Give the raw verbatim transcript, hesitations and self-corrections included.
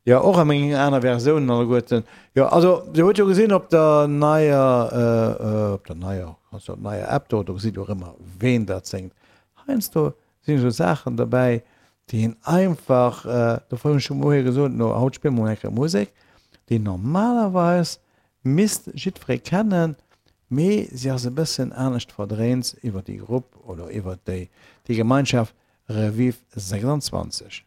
Jo, och a mengen aner Versiounen alleguerten. Jo, also Dir hutt jo gesinn op der neier, op der neier, also op neier App do, do gesitt Dir och ëmmer ween dat séngt. Heiansdo sinn esou Saachen derbäi, déi een einfach, dofir hunn ech jo moie gesot, no haut spille mer mol eng Kéier Musek, déi normalerweis misst jiddweree kennen, mee si ass e bëssen anescht verdréint iwwer déi Grupp oder iwwer déi, déi Gemeinschaft Revive sechsundzwanzeg.